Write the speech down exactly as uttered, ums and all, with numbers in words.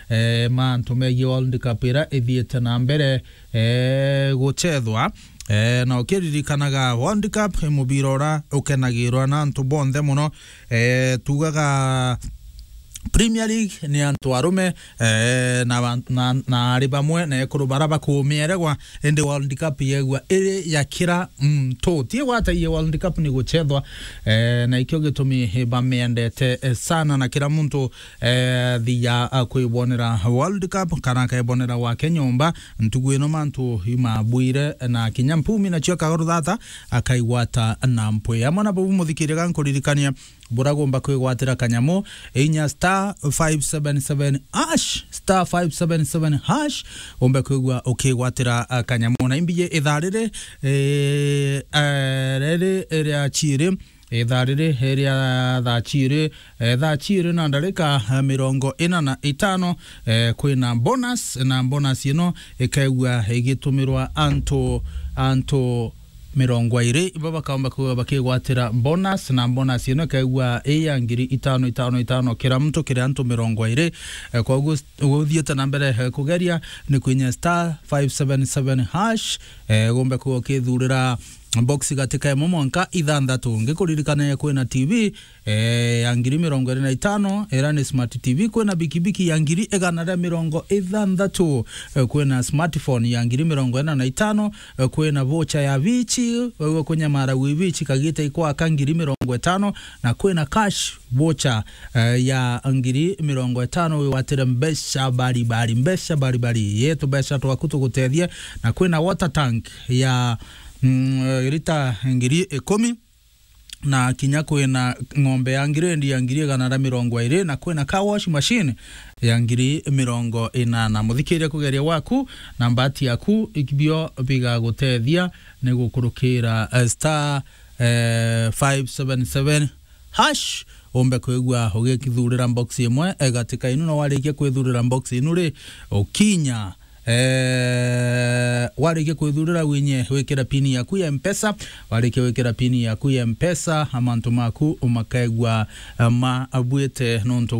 eh, mantu megie World Cup ira ithiite na mbere, eh, guchethwa. Eh, na ukiririkanaga World Cup i mubira ura ukenagirwa na antu bonthe muno. Eh, tugaga Premier League ni antu arume, eh, na, na, na ari bamwe na ekuru bara bakumieregwa, indi World Cup yegua iri ya kira muntu. Ti gwata iye World Cup ni guchethwa, eh, na ikio gitumi bamiendete, eh, sana, na kira muntu, eh, thia, ah, kwibonera World Cup kana akaibonera gwake nyomba. Ntugu ino mantu imabwire na kinya mpumi nacio akagoro thata akaigwata na mpwi. Amwe na bau muthikiria gankuririkania buragomba kwigwatira kanyamu, inya star five seven seven hash, star five seven seven hash, umbe kwigua ukigwatira, ah, kanyamu. Na imbiji ithaa riri, eh, eh, riri ria chiri, ithaa riri ria thaa chiri, eh, thaa chiri na ndarika, eh, mirongo ina na itano, eh, kwina bonus, na bonus ino ikaigua igitumirwa antu, antu mirongo iri, ibo bakaomba kwigua bakigwatira bonus, na bonus ino ikaigua i ya ngiri itano, itano, itano kira muntu kiri antu mirongo iri. Eh, koguo s-, uthiite na mbere, eh, kugeria ni kwinya star five seven seven hash, eh, gombe kwigua ukithurira box gatika imwe mwanka ithanthatu. Ngikuririkania kwina T V, eh, ya ngiri mirongo iri na itano, ira ni smart T V, kwina bikibiki ya ngiri igana ria mirongo ithanthatu, eh, kwina smartphone ya ngiri mirongo ina na itano, eh, kwina voucher ya vichi, wewe kunyamara wi vichi kagita ikwaka ngiri mirongo itano, na kwina cash voucher, eh, ya ngiri mirongo itano, wigwatire mbeca baribari, mbeca baribari. Yetu mbeca twaku tugutethie, na kwina water tank ya, mm, eh, lita ngiri ikumi, na kinya kwina ng'ombe ya ngirendi ya ngiri igana ria mirongo iri, na kwina car wash machine ya ngiri mirongo inana. Muthikiria kugeria gwaku na mbati yaku, ibio bigagutethia ni gukurukira, eh, star, eh, five seven seven hash, umbe kwigua ugikithurira box imwe, eh, gatika inu, na warikia kwithurira box inu ri, ukinya Eh, warikia kwithurira winye wikira pini yaku ya Mpesa, warikia wikira pini yaku ya Mpesa, amantu maku umakaigua, eh, mabuite nontu